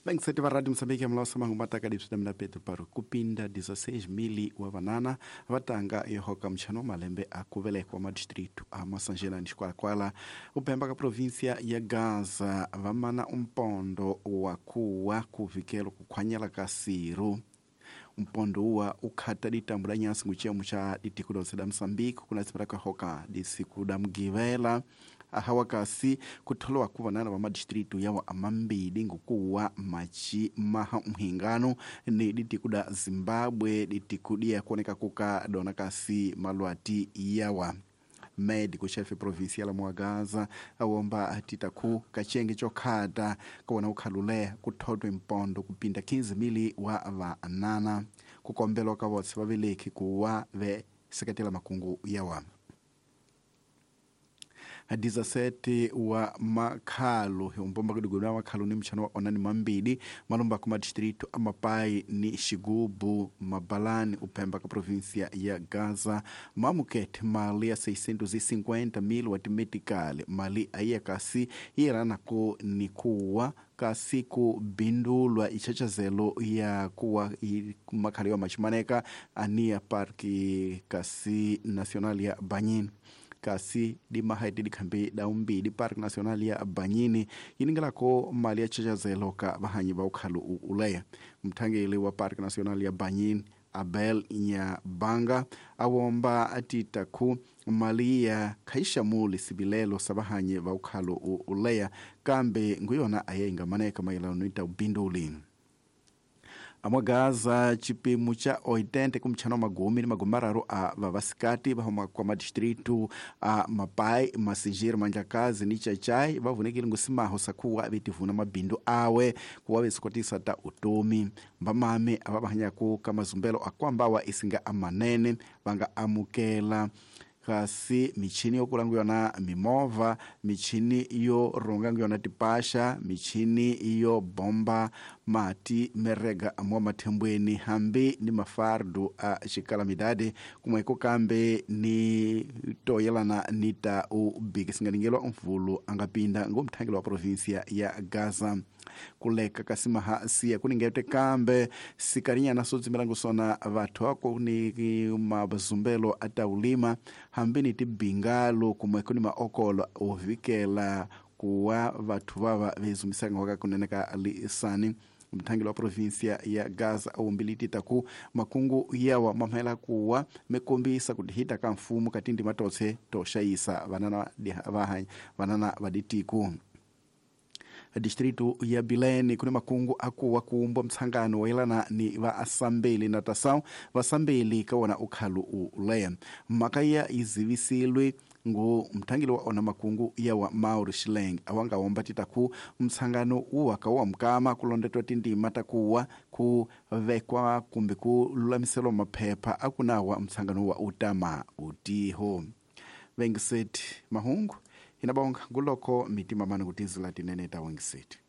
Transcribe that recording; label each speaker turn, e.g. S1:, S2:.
S1: Vengiseti va Radio Moçambique mulaosa mangu mataka dipsita mina Pedro Paro kupinda 16,000 wa vanana vatanga yohoka mchano wa malembe a kuvelekwa madistrito a Masanjela ni Xikwalakwala upemba ka província ya Gaza vamana umpondo wa kuwa kuvikelo kukhwanyela ka siru mpondo uwa ukhata ditambo da nyasi nguchiyamo cha ditiko donse da Moçambique kunasipata kahoka disiku da mgivela ahawa kasi kutholowa ku vanana va madistritu yawa amambili ngukuwa machi maha mhingano ni ditiku da Zimbabwe ditiku diya kuoneka kuka dona kasi malwati yawa médico chefe provincial wa Gaza awomba atitaku kachenge chokhata kawona ukhalule kuthodwe mpondo kupinda 15,000 wa vanana kukombelwa ka votse vaveleki kuwa ve seketela makungu yawa 17 wa makhalu umpomba kudigulu wa makhalu ni mchano wa onani mambili malomba ku madistrito amapai ni xigubu mabalani upemba ka província ya Gaza mamukete mali ya 650,000 wa timetikali mali aiya kasi iranako ni kuwa kasi kubindulwa ichachazelo ya kuwa makhali wa machimaneka ania parki kasi nacional ya Banhine kasi dimahaiti dikhambi daumbili park nacional ya Banhine yiningelako mali ya chachazelo ka vahanyi va ukhalu uleya mthangeli wa park nacional ya Banhine Abel Nyabanga awomba atitaku mali ya khaixamuli sivilelo sa vahanyi va ukhalu uleya kambe nguyona ayeingamaneka mayelano ni ubinduli amwagaza chipimo cha 80 kumtchano magumi ni magumi mararu a vavasikati vahuma kwa madistritu a Mapai, Masinjiro, Manjakazi ni Chachai vavunekile ngusimaho sakuwa vetivuna mabindu awe kuwa vesikotisa ta utomi mbamame ava vahanyaku ka mazumbelo akwambawa isinga amanene vanga amukela kasi michini yokulangu yona mimova michini yo rongangu yona tipasha michini yo bomba mati merega amwa mathembweni hambi ni mafardu a xikalamidade kumweko kambe ni toyelana ni ta ubiki singaningelwa mvulu angapinda ngomthangelo wa província ya Gaza kuleka kasimaha siya kuningete kambe sikarinyana sodzimilangu sona vathu ako ni mazumbelo ataulima hambi ni tibingalo kumweko ni maokolo ovikela kuwa vathu vava vezumisanga waka kunene ka lisani mthangelo wa província ya Gaza awumbilititaku makungu yawa mamhela kuwa mekombisa kuti hita ka mfumo katindi matotse toxayisa vanana vanana vaditiku distrito ya Bilene kuni makungu akuwa kuumbwa mtsangano wayelana ni va asambeli na tasau vasambeli kawona ukhalu uleya mhaka izivisilwe ngu mthangeli wa ona makungu yawa Mauro Shileng awanga womba titaku mtsangano uwa kawa mkama kulondetwa tindima takuwa kuvekwa kumbe kululamiselwa maphepha akunawa mtsangano wa utama utiho vengiseti mahungu inabonga nguloko mitima mani kutizila tinene ta wengiseti.